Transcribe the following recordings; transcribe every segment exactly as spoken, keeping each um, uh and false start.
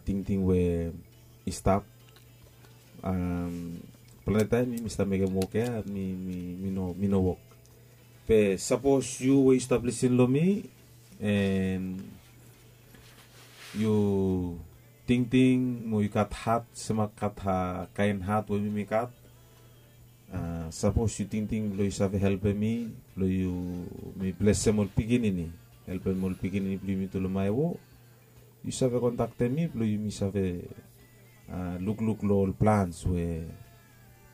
tingting we i stap. Plante taem mi mi stap mekem wok ya mi mi mi no mi no wok. Be sapos yu we yu stap lisin long mi, and yu tingting mo yu gat hat, sema gat kaen hat we mi mi gat, sapos yu tingting blong yu save helpem mi blong yu mi blesem ol pikinini, helpem ol pikinini blong yumi tu long maewo, yu save kontaktem mi blong yumi save lukluk long ol plans we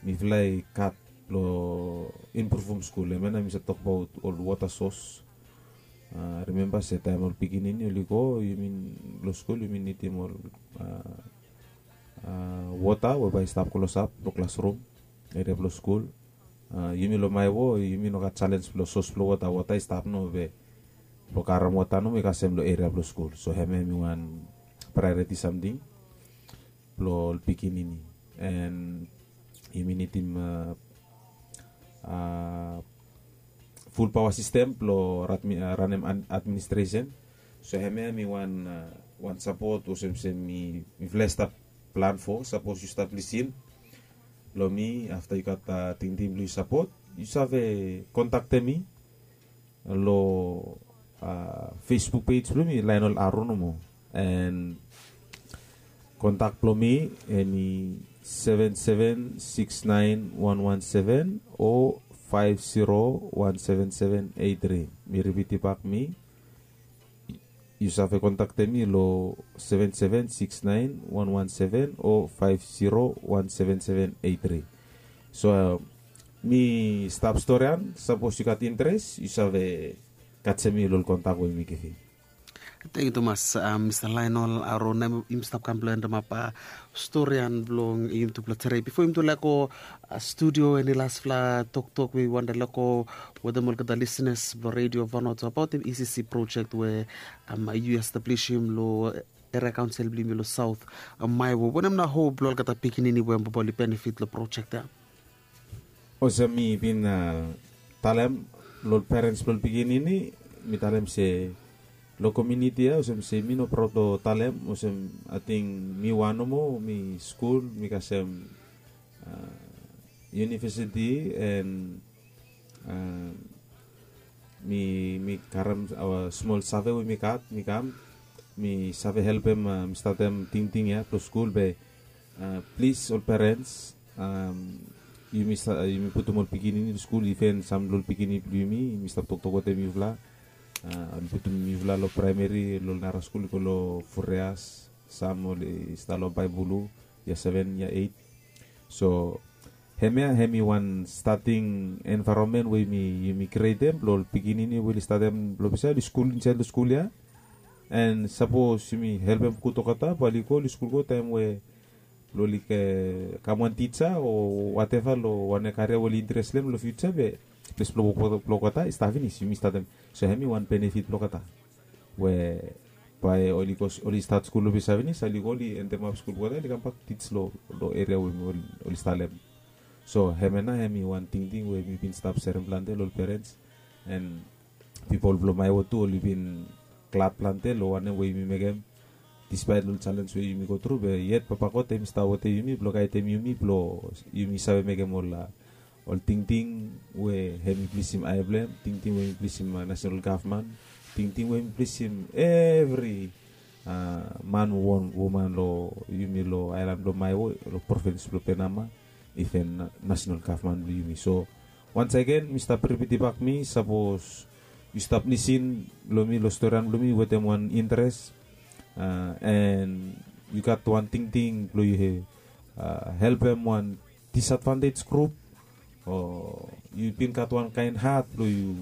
mifala i gat blong impruvum skul. Hemia nao mi save tokbaot ol wota sos. Rimemba se taem ol pikinini oli go yumi long skul yumi nidim ol wota we bae i stap klosap long klasrum, eria blong skul. Yumi long maewo yumi no gat salens blong sos blong wota wota i stap no be blong karam wota no mi kasem long eria blong skul. So hemia hemi wan praeriti samting blong ol pikinini. And yumi nidim ful paoa sistem blong ranem administresen. So hemia hemi wan sapot olsem se mifala i stap plan fo sapos yu stap lisin long mi afta yu gat tingting blong yu sapot, yu save kontaktem mi long fesbuk pej blong mi laenol aro nomo. And kontak blong mi hemi seven seven six nine one one seven o five zero one seven seven eight three. Mi ripiti bak mi yu save kontaktem mi long seven seven six nine one one seven o five zero one seven seven eight three. So mi stap storian, sapos yu gat interes yu save kasem mi long ol kontak we mi givim. Tengyu tumas mista laenol aro na yumi stap kam blong endemap storian blong yumi tu blong tere bifo yumi tu lego studio eni laspela toktok we yu wanta lego wetem olgeta lisenas blong redio vanoto abaotem ecc projek we yu establisim long eria kaunsil blong yumi long saut. Maewo wanem na hop blong olgeta pikinini we baba oli benefit long projek ya? Olsem mi bin talem long ol perens blong ol pikinini, mi talem se long komiuniti ya olsem se mi no praod long talem olsem ating mi wan nomo mi skul mi kasem yunivesiti and mi mi karem smol save we mi gat mi kam mi save helpem mi statem tingting ya blong skul be plis ol perens yumi putum ol pikinini long skul iven sam long ol pikinini blong yumi yumi stap toktok wetem yufala. Oli putum yufala long praemeri long nara skul i go long fureas sam oli stap long baebulu ya seven ya eight. So hemia hemi wan stating envaeronmen we yumi krietem blong ol pikinini we oli statem long ples ya oli skul insaed long skul ya. And sapos yumi helpem gud olgeta bae oli go oli skul go taem we blong oli kam wan tija o wateva long wan karia we oli interes long hem long fiuja be ples blong wok blong olgeta i stap finis yumi statem. So hemi wan benefit blong olgeta we bae oli go oli stat skul long ples ya finis oli go oli endemap skul blong olgeta oli kambak tij long eria we oli stalem. So hemia nao hemi wan tingting we mi bin stap serem plante long ol perens and pipol blong maewo tu oli bin glad plante long wanem we yumi mekem. Dispaet long ol jalens we yumi go tru be yet papa god hem i stap wetem yumi blong gaedem yumi blong yumi save mekem ol ol tingting we hem i plisim ae blong hem, tingting we hem i plisim nasenal gavman, tingting we hem i plisim evri man, woman long yumi long aelan blong maewo long provins blong penama, iven nasenal gavman blong yumi. So wansagen mi stap ripitibak mi sapos yu stap lisin long mi long storian blong mi wetem wan interes, en yu gat wan tingting blong yu helpem wan disadvantej grup, o yu bin gat wan kaen hat blong yu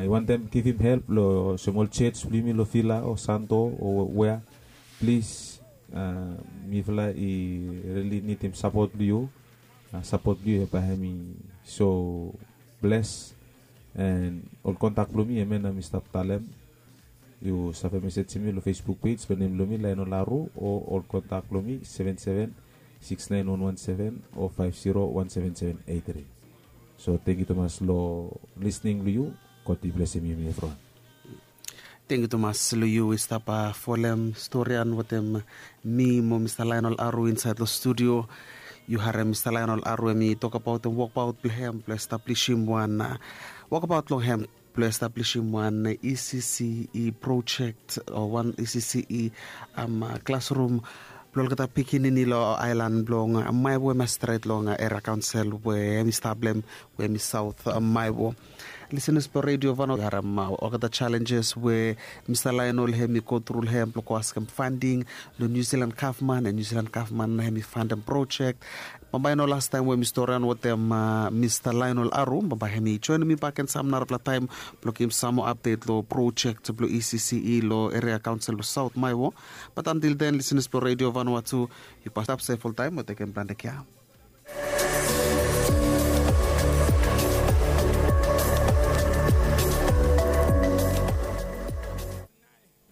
wantem givim help long olsem ol jos blong yumi long vila o santo o wea, plis mifala i rili nidim sapot blong yu. Sapot blong yu bae hem i so bles. En ol kontak blong mi hemia nao mi stap talem. Yu save mesejem mi long facebook pej long nem blong mi laen ol aru o ol kontak blong mi seven seven six nine one one seven o five zero one seven seven eight three. So tengkiu tumas long lisning blong yu. God i blesim yumi evriwan. Tengiu tumas long yu i stap folem storian wetem mi mo Mista Lainol Aru insaet long studio. Yu harem Mista Lainol Aru em i tokabaotem wokbaot blong hem blong establisim wan wokbaot long hem blong establisim wan E C C E projek o wan E C C E klasrum blong olgeta pikinini long aelan blong Maewo em i stret long eria kaonsel we em i stap long hem we em i saot Maewo. Lisenas blong redio Vanua, yu harem olgeta jalenjes we Mista Lainol hem i go tru long hem blong go askem fanding long Niu Silan gavman, en Niu Silan gavman hem i fandem projek. Bambae i no lastaem we mi storian wetem Mista Lainol Aru, bambae hem i joenem mi bakegen sam narafala taem blong givim sam moa apdet long projek blong E C C E long eria kaonsel blong Saot Maewo. Bat antil den, lisenas blong redio Vanua tu, yu mas stap sef oltaem mo tekem plante kea.